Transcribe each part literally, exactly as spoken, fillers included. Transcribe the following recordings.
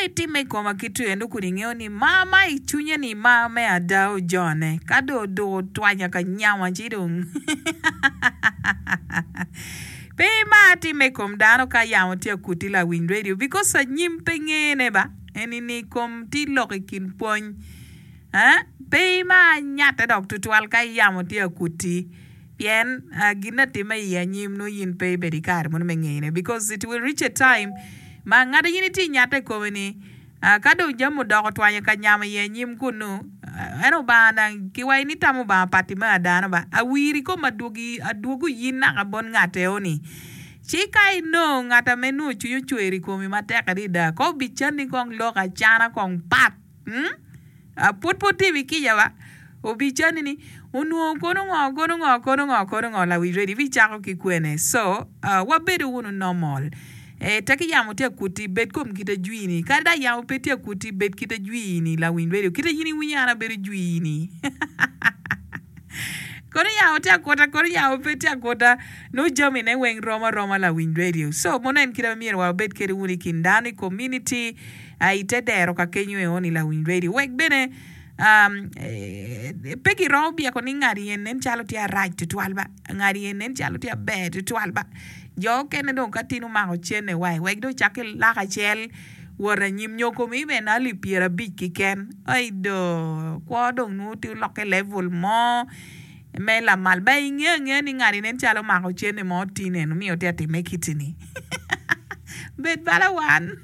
dong itimme i koma ki two eno kun ingeyo ni mar ma i cwinye ni mar me ada ojone ka dong oduko otwanya ka nyama ci dong pe imar timme i kom dano ka yamo tye akuti lawiny radio because anyim pe ngene ba eni ni kom tye lok i kin pwony eh pe imar nyatte dok tutwal ka yamo tye akuti pien gin atimme i anyim nongo in pe ibedo i kare mono me ngeyone because it will reach a time ma ngat in itye nyatte i kome ni ka dong jami odoko otwanyo ka nyamo i anyim kunu en Obanga dang kiwaco ni tam Obanga pat me adano ba awiri kom adwogi adwogo in naka bot ngat eo-ni ci ka inongo ngat ame nongo cwiny ocwer i komi matek adada ko obicanni kong lok acana kong pat hmm? Pud pe otimi kica ba obicanni ni onwongo kono ngo kono ngo kono ngo kono ngo lawic ready ibicako ki kwene so uh, wabedo wunu normal eh, tek yamo tye akuti bed kom kite jwini kadi da yamo pe tye akuti bed kite jwini lawiny radio kite in iwinyo an abedo jwini kono yamo tye akuta kono yamo pe tye akuta nongo jamine weng rom aroma lawiny radio so mono en kite ma myero wabed kede wunu i kin dano i community uh, i te dero ka kenyo eoni lawiny radio wek bene um, eh, pe giromo byeko ni ngat yen nen calo tye arac tutwal ba ngat yen nen calo tye aber tutwal ba jo okene dong ka tin omako cene wai wek dong cak ki lak acel wot anyim nyo komi bene alip pyerabic kiken ai do kwo dong nongo tye olokke level mo me lamal ba inge angeya ni ngati nen calo omako cene mo tin eno miyo tye atime kiti-ni bed bala wan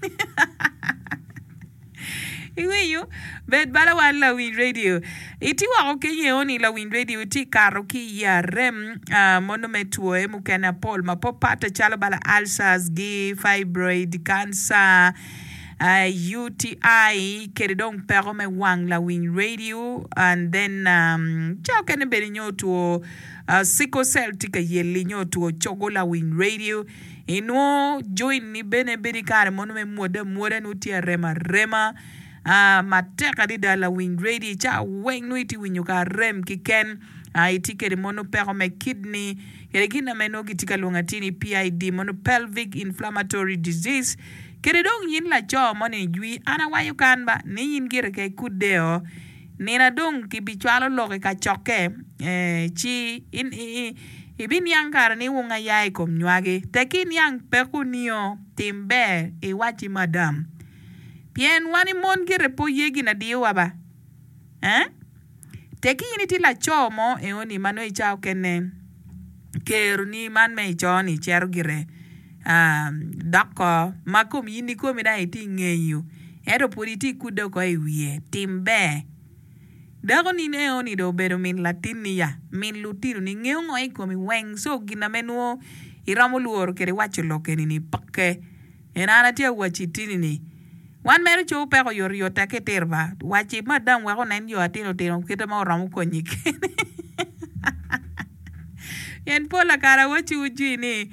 iwinyo bed bala wan lawiny radio iti woko kenyo eoni lawiny radio iti kato ki i arem uh, mono me twoe mukene apol mapapat calo bala ulcers gi fibroid cancer uh, U T I kede dong peko me wang lawiny radio and then um, ca okene bene nyo two uh, sickle cell tye ka yeli nyo two cogo lawiny radio inwo joint ni bene bedo i kare mono me mwode amwoda nongo tye arem arema uh, matek adada lawiny radio ca weng nongo itye winyo ka arem kiken uh, itye kede mono peko me kidney kede gin ame nongo gitye ka lwongo atir ni P I D mono pelvic inflammatory disease kede dong yin laco moni jwi an awaco kan ba ni yin gire ka ikudeo nina dong kibicwalo lok i kacokke eh, ci in, i, ibiniang kare ni wung aya i kom nywagi tek iniang peko nio tim ber iwaci madam pien wan i mon gire po ye gin adiyowa ba eh? Tek in itye laco mo eoni ma nongo ica okene keroni man me ico-ni cero gire uh, dok ko ma kom in ikomi dang itye ngeyo ento pud itye kudde oko i wiye tim ber dako ni eoni dong obedo min latinni ya min lutinoni ngeyo ngo i komi weng so gin ame nongo iromo lworo kede waco lok eni-ni peke en an atye awaci tini-ni wan mere cobo peko oyotoyot tek itiro ba waci madam wek onen yo atino tino kite ma oromo konyi kene pien pol kare awaciwu jwi ni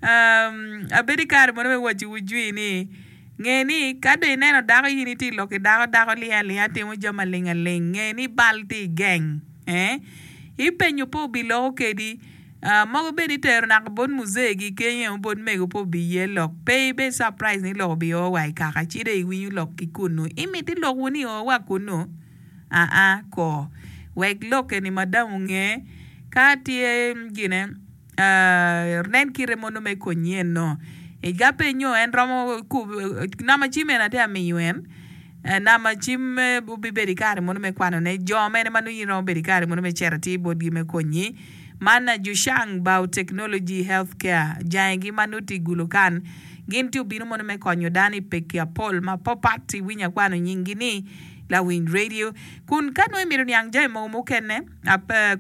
um, abedo i kare mono me waciwu jwi ni nge ni ka dong ineno dako in itye lok ki dako dako ling alinga timo jami aling aling nge ni bal tye i geng eh? Ipenyo pe obiloko kedi uh, mogo bene itero naka bot muzegi kenyo bot mego pe obiye lok pe ibed surprise ni lok obio wa i kaka ci dong iwinyo lok ki kunu imiti lok wunu o wa kunu aa ko wek lok eni madam onge ka tye gine uh, nen kite mono me konyi eno iga pe nyo en romo namba cim en atye amiyo en namba cim obibedo i kare mono me kwanone jo mene ma nongo in romo bedo i kare mono me cito atir botgi me konyi man Jushang Biotechnology Healthcare jangigi ma nongo tye i Gulu kan gin tye obino mono me konyo dano i peki apol mapapat iwinyo akwano nyinggi ni lawiny radio kun ka nongo imito niang jami mogo mukene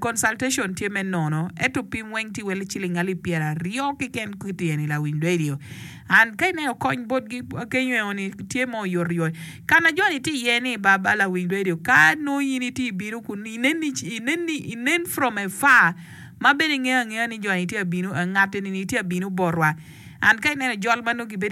consultation tye me nono ento pim weng tye wel ciling alip pyeraryo keken kityeni lawiny radio and ka ineno kony botgi kenyo eoni tye mo oyotoyot kana joni tye iye ni baba lawiny radio ka nongo in itye ibino kun inen, inen, inen from afar ma bene ingeyo angeya ni joni tye abino ngat eni tye abino botwa and ka ineno jol ma nongo gibedo